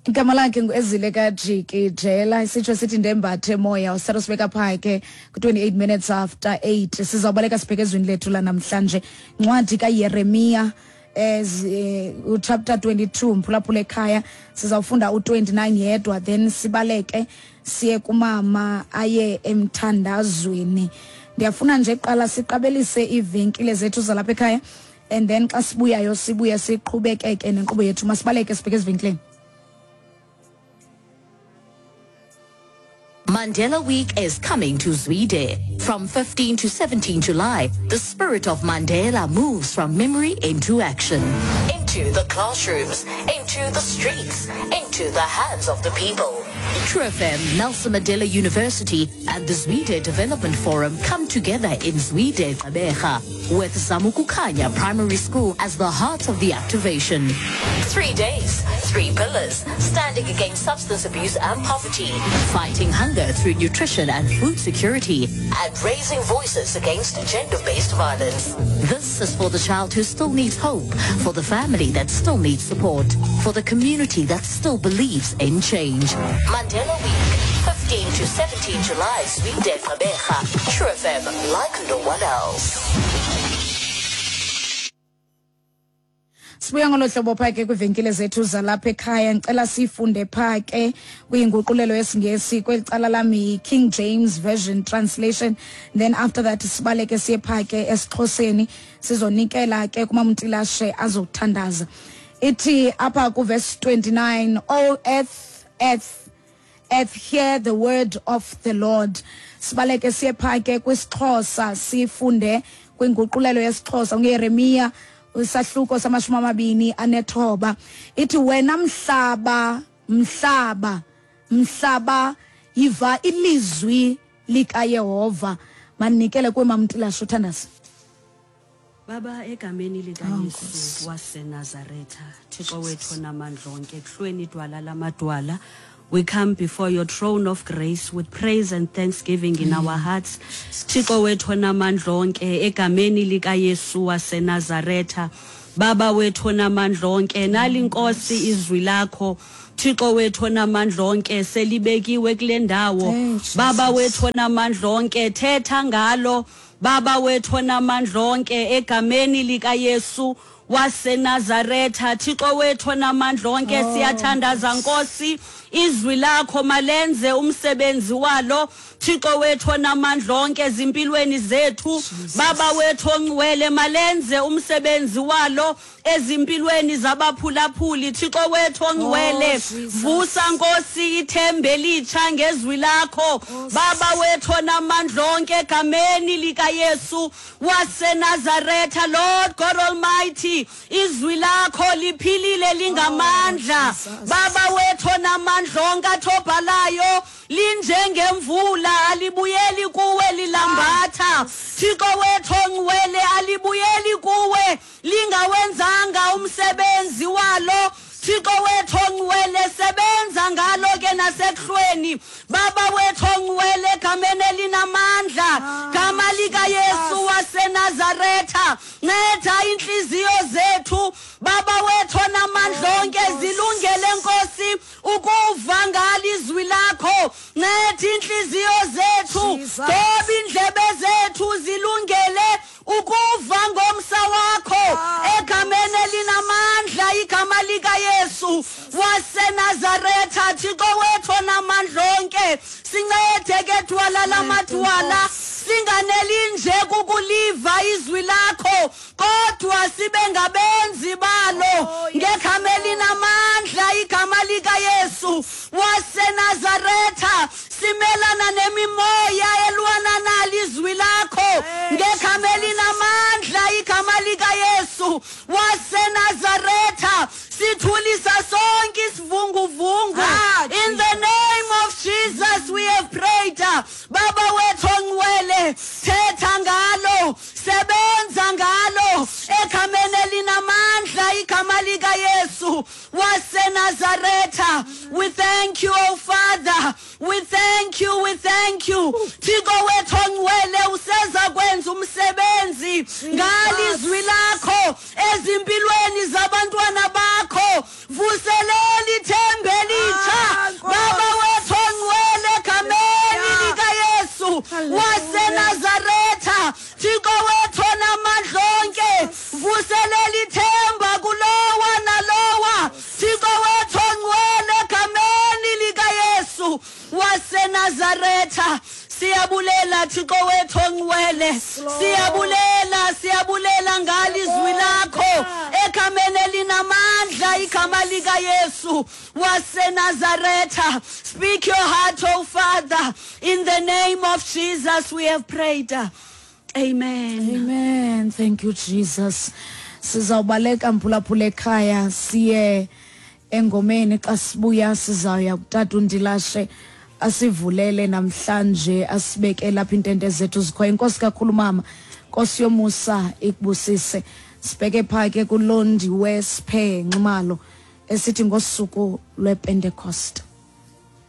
Igama lakhe nguEzile kaJiki Jela, isitsho sithi ndembathe moya usithatha sibeka phaa ke ku-28 minutes after 8. Sizawubaleka sibheke ezwini lethu lanamhlanje, ncwadi kaYeremiya as uchapter 22. Mphulaphula ekhaya, sizawufunda u-29 yedwa, then sibaleke siye kumama aye emthandazweni. Ndiyafuna nje kuqala siqabelise iivenkile zethu zalapha ekhaya, and then xa sibuyayo sibuye siqhubekeke nenkqubo yethu. Masibaleke sibheke ezivenkileni. Mandela Week is coming to Zwide. From 15 to 17 July, the spirit of Mandela moves from memory into action. Into the classrooms, into the streets, into the hands of the people. True FM, Nelson Mandela University and the Zwide Development Forum come together in Zwide Gqeberha with Zamukukhanya Primary School as the heart of the activation. 3 days, three pillars, standing against substance abuse and poverty, fighting hunger through nutrition and food security, and raising voices against gender-based violence. This is for the child who still needs hope, for the family that still needs support, for the community that still believes in change. Mandela Week, 15 to 17 July, Zwide Gqeberha, True FM, like no one else. Sibuya ngolo hlobo phaa ke kwiivenkile zethu zalapha ekhaya. Ndicela sifunde phaa ke kwinguqulelo yesiNgesi, kweli cala lam yi-King James Version translation, then after that sibaleke siye phaa ke esiXhoseni, sizonikela ke kuMamntilashe azokuthandaza. Ithi apha kuvesi 29, "O earth, earth, earth, hear the word of the Lord." Sibaleke siye phaa ke kwisiXhosa, sifunde kwinguqulelo yesiXhosa, nguYeremiya isahluko sama-29. Ithi, "Wena mhlaba, mhlaba, mhlaba, yiva ilizwi likaYehova." Manikele kwemamntilasho uthandaza. Baba, egameni likaYesu waseNazaretha, Thixo wethu namandla onke, kuhlweni idwala lamadwala, we come before your throne of grace with praise and thanksgiving in our hearts. Thixo wethu namandla onke, egameni likaYesu waseNazaretha, Baba wethu namandla onke, nali Nkosi izwi lakho, Thixo wethu namandla onke, selibekiwe kule ndawo. Hey, Jesus. Baba wethu namandla onke, thetha ngalo, Baba wethu namandla onke, egameni likaYesu waseNazaretha. Thixo wethu namandla onke, siyathandaza Nkosi, izwi lakho malenze umsebenzi walo, Thixo wethu namandla onke, ezimpilweni zethu. Baba wethu ongcwele, malenze umsebenzi walo ezimpilweni zabaphulaphuli. Thixo wethu ongcwele, Oh, Jesus. vusa Nkosi ithemba elitsha ngezwi lakho, Baba wethu namandla onke, egameni likaYesu waseNazaretha. Lord God Almighty, izwi lakho liphilile, lingamandla. Jesus. Baba wethu namandla onke, athobhalayo linjengemvula, alibuyeli kuwe lilambatha. Thixo wethu ongcwele, alibuyeli kuwe lingawenzanga umsebenzi walo. Thixo wethu ongcwele, sebenza ngalo ke nasekuhlweni, Baba wethu ongcwele, egameni elinamandla, gama likaYesu waseNazaretha. Nceda inhliziyo zethu, Baba wethu onamandla onke, zilungele Nkosi ukuva ngalo izwi lakho. Nceda inhliziyo zethu, Jesus. doba indlebe zethu zilungele ukuva ngomsa wakho, egameni elinamandla, igama likaYesu waseNazaretha. Thixo wethu onamandla onke, sincede ke dwala lamadwala, singaneli nje kukuliva izwi lakho, kodwa sibe ngabenzi balo, Oh, yes, ngegama elinamandla, igama likaYesu waseNazaretha. Simelana nemimoya elwana nalo izwi lakho, ngegama elinamandla, igama likaYesu waseNazaretha. Sithulisa sonke isivunguvungu. In the name of Jesus we have prayed. Baba wethu ongcwele, thetha ngalo, sebenza ngalo, egameni elinamandla, igama likaYesu waseNazaretha. We thank you, O Father, we thank you, we thank you. Thixo wethu ongcwele, useza kwenza umsebenzi ngalizwi lakho ezimpilweni zabantwana bakho. Vuselela ithemba. waseNazaretha. Siyabulela Thixo wethu ongcwele, siyabulela, siyabulela ngalizwi lakho egameni elinamandla, igama likaYesu waseNazaretha. Speak your heart, O Father, in the name of Jesus we have prayed. Amen. Amen. Thank you, Jesus. Sizawubaleka, mphulaphula ekhaya, siye engomeni. Xa sibuya sizawuya kutata uNdilashe asivulele namhlanje, asibeke lapha intente zethu zikhoyo. Inkosi kakhulu, mama. Nkosi yomusa ikubusise. Sibheke phaa ke kuLondiwe Siphe Nxumalo esithi ngosuku lwePentecost.